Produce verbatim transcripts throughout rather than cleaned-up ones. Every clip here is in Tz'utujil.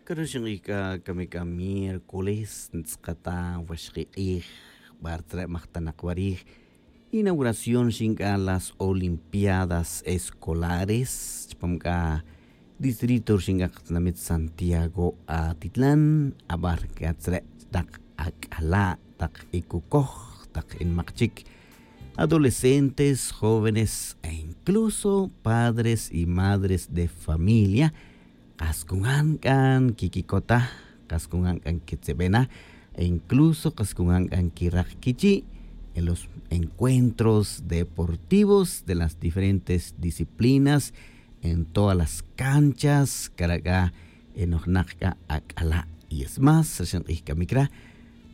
Caro xink'ij c'a cami c'a miércoles ntz'akata waxki' k'ij. Bar tzre' majtanak warij inauguración xink'a las olimpiadas escolares chupam c'a distrito xink'a katinamit santiago atitlan. Abar c'a tzre' tak ak'ala' tak ikucoj tak inmak chic adolescentes, jóvenes e incluso padres y madres de familia. Kas cungan c'a nquiquicota, kas cungan c'a nquitzebena e incluso kas cungan c'a nquirak quichi' en los encuentros deportivos de las diferentes disciplinas en todas las canchas. Cara' c'a enojnak c'a ak'ala' y es más rixin k'ij camic ra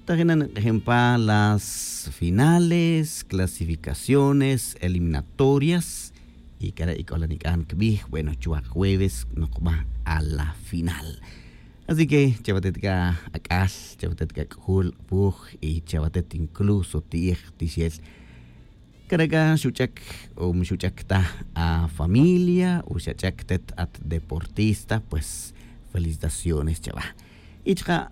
tajin na nk'ejin pa las finales, clasificaciones eliminatorias. Y cara' ic'ola nic'an cbij bueno chuwa' jueves nokba a la final. Así que chawatet c'a ak'al, chawatet c'a c'ujul k'apuj y chawatet incluso ti'ij tixel. Cara' c'a xuch'ac o mi xuch'ac ta a familia o xach'ac tet at deportista pues felicitaciones chawa'. Y chaka'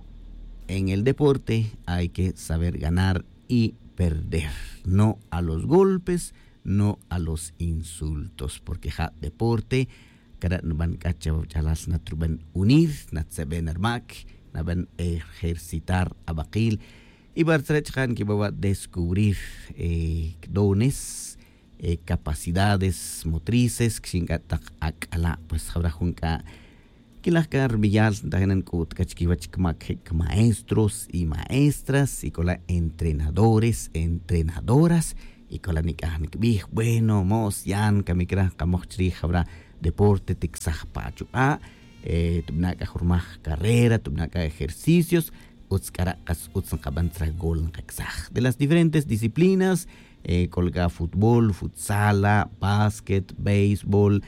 en el deporte hay que saber ganar y perder, no a los golpes, no a los insultos porque ja' deporte cara' nuban c'a chawach'alal natruban unir natzeben rumac, naban ejercitar abakil. Y bar tzre' chaka' nquibawa' descubrir dones, capacidades motrices quixinc'a' tak ak'ala' pues jawra jun c'a quilaj c'a rubeyal ntajin na nc'u't c'a chiquiwech cmac je' cmaestros y maestras y c'ola' entrenadores, entrenadoras. Y c'ola' nic'an cbij bueno mo's yan camic ra kamoj chirij jawra deporte ticsaj pa achuk'a' tubana' c'a jurmaj carrera tubana' c'a ejercicios. Utz c'ara' kas utz nkaban tzra gol nkacsaj de las diferentes disciplinas. C'ola c'a futbol futsala, básquet, béisbol,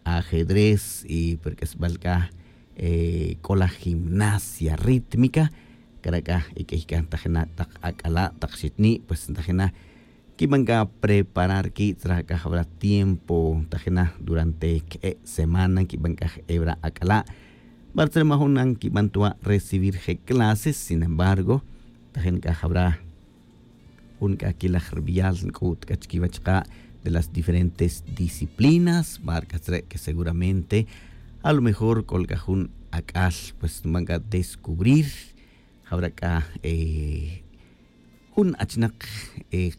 ajedrez y perk'esbal c'a c'ola gimnasia rítmica. Cara' c'a iq'uiy c'a ntajina' tak ak'ala' tak xitni' pues ntajina' quiban c'a preparar qui' tzra c'a jawra tiempo tajina durante que'e' semana nquiban c'a je'e' wra ak'ala'. Bar tzre' majun na nquiban tuwa' recibir je' clases sin embargo tajin c'a jawra jun c'a quilaj rubeyal nc'u't c'a chiquiwech ka' de las diferentes disciplinas bar c'a tzre' que seguramente a lo mejor c'ola c'a jun ak'al pues nban c'a descubrir jawra c'a jun achinak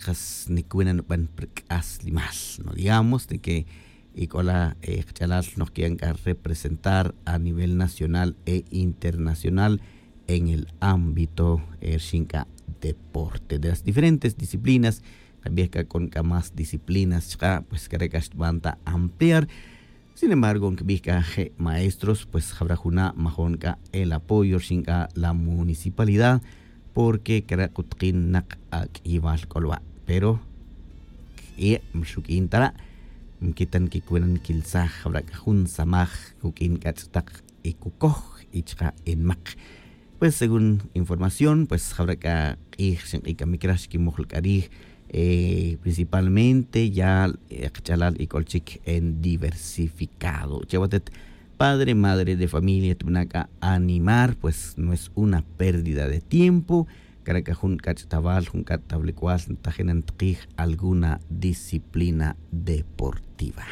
kas nicuwena nuban pa rc'aslimal no digamos de que ic'ola kach'alal noj qui'an c'a representar a nivel nacional e internacional en el ámbito rixin c'a deporte de las diferentes disciplinas. Kabij c'a c'on c'a más disciplinas chaka' pues care' c'a xtban ta ampliar. Sin embargo nkibij c'a je' maestros pues jawra juna' majon c'a el apoyo rixin c'a la municipalidad porque cara' k'ut kin nak ak'iyibal c'olwa'. Pero k'ie' mixuq'uin ta ra' nquitan quicuena nquilsaj jawra c'a jun samaj cuq'uin c'ach'tak y cucoj y chaka' enmak. Pues según información pues jawra c'a k'ij rixin k'ij camic ra xquimoj la c'a rij principalmente ya kach'alal y c'ol chic en diversificado chawatet padre madre de familia tubana' c'a animar pues no es una pérdida de tiempo. Cara' c'a jun c'ach'tawal jun c'ach'tawlic'wal ntajina ntakij alguna disciplina deportiva.